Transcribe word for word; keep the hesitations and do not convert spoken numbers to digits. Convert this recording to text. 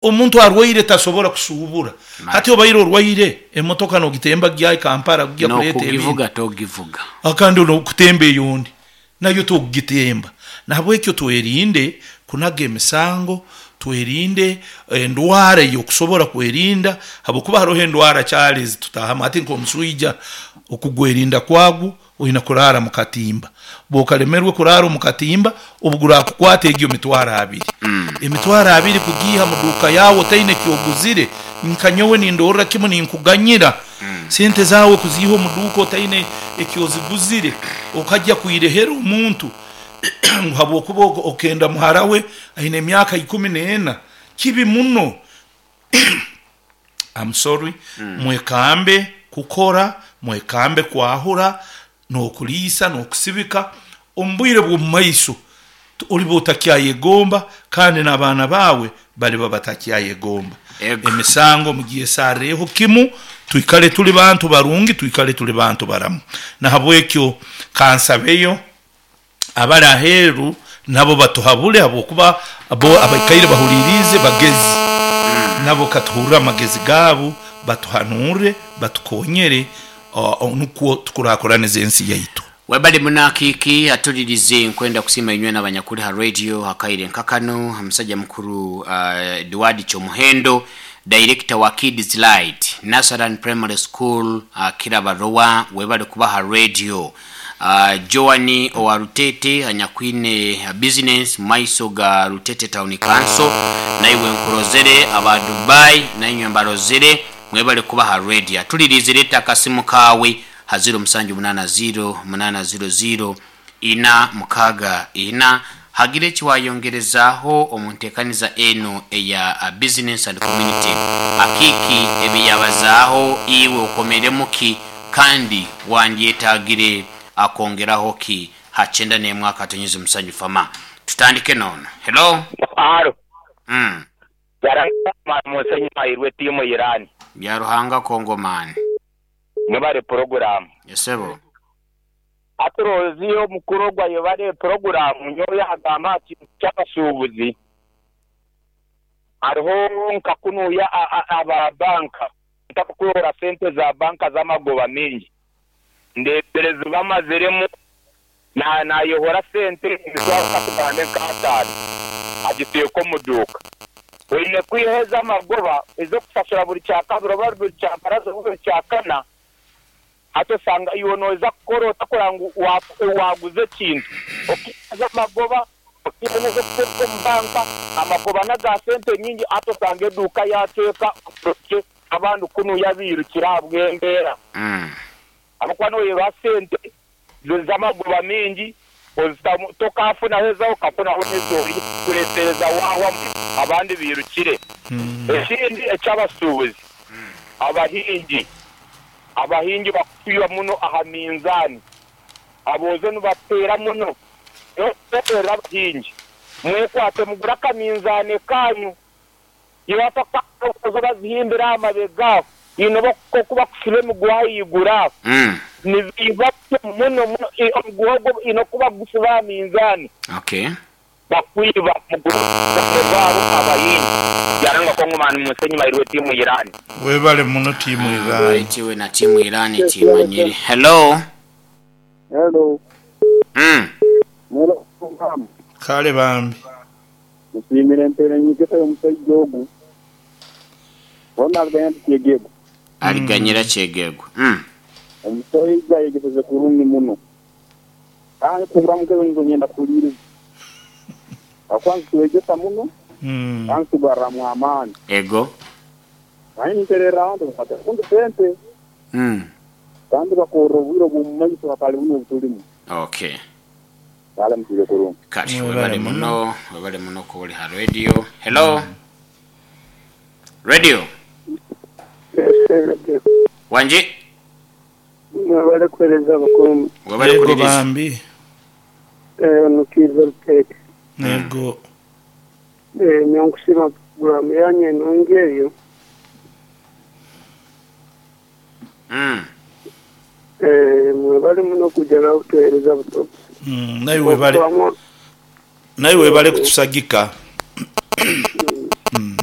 Omuntu arwaire tasobora kusuubura. Hati obaire orwaire, emotoka nogitemba gya Kampala kugya kuleeta ebintu. N'okugivuga togivuga. Kandi n'okutemba eyundi nayo tokugitemba. Nahabwekyo twerinde kunaga emisango, twerinde endwara ey'okusobora kwerinda, habwokuba haroho endwara kyali ezitutahamu. Hati nk'omuswija okugwerinda kwagwo oina kuraara mu katimba. Bw'okalemerwe kuraara omu katimba, obu guraakukwata egyo mitwaro abiri. Emitwaro abiri kugiiha mu duuka yaawe otaine ky'oguzire, nka nyowe nindorra kimu ninkuganyira. Sente zaawe kuziiha omu duuka otaine eki oziguzire, okajya kwirehera omuntu ngu habwokuba okenda muhara we aine emyaka ikumi n'ena, kibi muno. I'm sorry. Mwekambe kukora, mwekambe kwahura, n'okuliisa n'okusibika, omu bwire bw'omu maiso oliba otakyayegomba kandi n'abaana baawe baliba batakyayegomba. Ego. Emisango mugyesarreeho kimu, twikale tuli bantu barungi, twikale tuli bantu baramu. Nahabwekyo kansabeyo abali aheeru nabo batuhabule habwokuba bo abaikaire bahuliiriize bagezi. Nabo katuhurre amagezi gaabo, batuhanurre, batukonyere nukwo tukurakuranize ensi yaitu. Webale muno Akiiki atulirize. Nkwenda kusiima inywe n'abanyakuli ha radio akaire nka kanu. Omusajja mukuru uh, Edward Kyomuhendo, director wa Kids Light Nasaran Primary School, uh, Kirabarowa, webale kuba ha radio. uh, Joan owa Rutete anyakwine business maiso ga Rutete Town Council, naiwe nkurozere. Aba Dubai nainywe mbarozere, mwebale kuba ha radio. Atulirize, leeta akasimu kaawe ha ziro musanju munana ziro munana ziro ziro ina mukaaga ina, hagire ekiwayongerezaaho omu nteekaniza eno eya uh, business and community. Akiiki ebiyabazaaho, iwe okomeremu ki kandi wandyetagire akongeraho ki? Ha kyenda n'emwe akatonyezi musanju fama. Tutandike noono. Hello. Alo. Mm. Musenyi mairwe tiimu Iran. Bya Ruhanga Kongomani. Mwebale puroguramu. Esebo. Aturozi omukuru ogwo ayebale puroguramu. Nyowe yagamba ati kyabasuubuzi hariho nka kunuya aba banka ntakukwehora sente za banka z'amagoba mingi ndeberezi bamaziremu nayehora sente emitwaro katugambe nk'ataano agiteeka omu duuka. Oine kwiha ez'amagoba ez'okusasura buri kyakabiri oba buri kyabaraza oba buri kyakana. Hati osanga iwe nooza kukora otakora ngu waguza ekintu okiha amagoba, okiha n'ez'okuteeka omu banka, amagoba n'aga sente nyingi. Hati osanga eduuka yateeka abandi kunuya biirukire ahabw'embeera, ahabw'okuba noyeba sente z'amagoba mingi tokafunaho ezawe, okafunaho n'ezori kureetereza wahwamu abandi biirukire. Ekindi eky'abasuubuzi, abahingi abahingi bakutwiba muno aha minzaani, aboojo nibateera muno. Nokuteerera abahingi, mwekwate mugure akaminzaani kanyu. Iwe bazihimbira aha mabega aho ine oku bakusiba emiguha ahaiguru aho nibiiba muno muno. Omuguha ogwo ine oku bakugusiba aha minzaani, bakwiba. Mugure obuminzaani bwabo abahingi. Byaranga Kongomani Musenyi mairwe tiimu Iran. Webale muno tiimu Iran. Baitu na tiimu Iran timanyire. Hello. Hello. Mm. Mwelo program. Kale bambi. Musimire empere nyigesa y'omusajja ogu. Bona aliganya kyegego. Aliganyira kyegego. Mm. Omusajja yegeseze kurungi muno. Kandi kugura nzo ngenda kuliiriza. Akwanza tuwegesa muno. Mm. Kandi tugarramu amaani. Ego. Naye nterera abantu bafata kundi sente. Mm. Kandi bakorra obwire obw'omu maiso hatali buno obutulimu. Okay. Kale mutwire kurungi. Kati Webale webale muno. muno, webale muno kuba ha radio. Hello. Radio. Wanje. Mwebale kuhereza abakuru. Webale Yego kuliriza. bambi. Nukiza Rutete. Yego. Nyankusima programu yanyu enungi eyo. Mm. Mwebale muno kujja nakutuhereza buto. Mm, naye webale. Naye webale kutusagika. Mm.